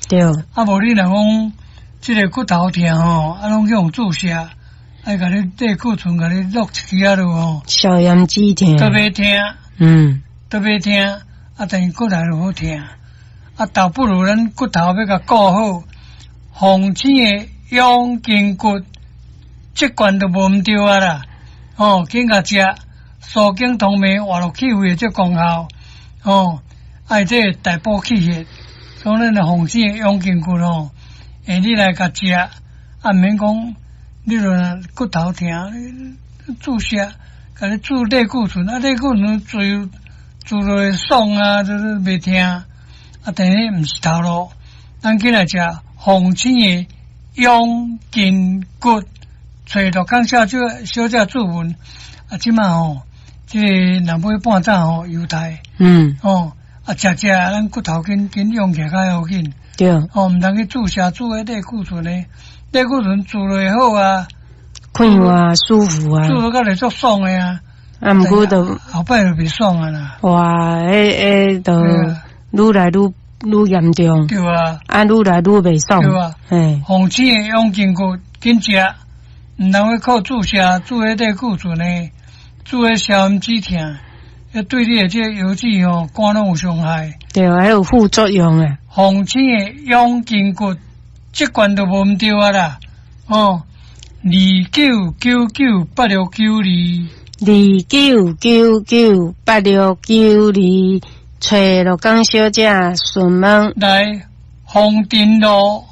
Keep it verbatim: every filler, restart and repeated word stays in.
對，啊，無你若講這个骨頭疼吼，啊，攏去予注射，愛共你類固醇共你落一支仔落吼，消炎止疼，都袂疼，嗯，都袂疼，啊，等於過來就好疼，啊，倒不如咱骨頭欲共顧好，防醒的養筋骨，這罐都無毋對啊啦，哦，緊共食，舒筋通脈、活絡氣血的這功效，哦，愛這個大補氣血，所以咱的防醒的養筋骨吼，會你來共食，啊，毋免講，你若骨頭疼，注射，共你注類固醇，啊，類固醇注注落會爽啊，就是袂疼，啊，但是毋是頭路，咱緊來食防醒的養筋骨，揣陸港小姐小姐注文，啊，這馬吼，這個若買半罩吼，猶太，嗯，哦，啊，食食咱骨頭緊緊養起來較要緊，對，哦，毋通去注射注彼類固醇的，類固醇注落會好啊，快活啊，舒服啊，注落甲來足爽的啊，啊，毋過就後擺就袂爽啊啦，哇，彼彼就愈來愈愈嚴重，對啊，啊，愈來愈袂爽，對啊，嘿，防醒的養筋骨緊食，毋通去靠注射注彼類固醇的，注彼消炎止疼，彼對你的這個腰子吼肝攏有傷害，對，還有副作用啊。防醒的養筋骨，這罐都無毋對啊啦，哦，二九九九八六九二，二九九九八六九二，揣鹿港小姐詢問來豐田路。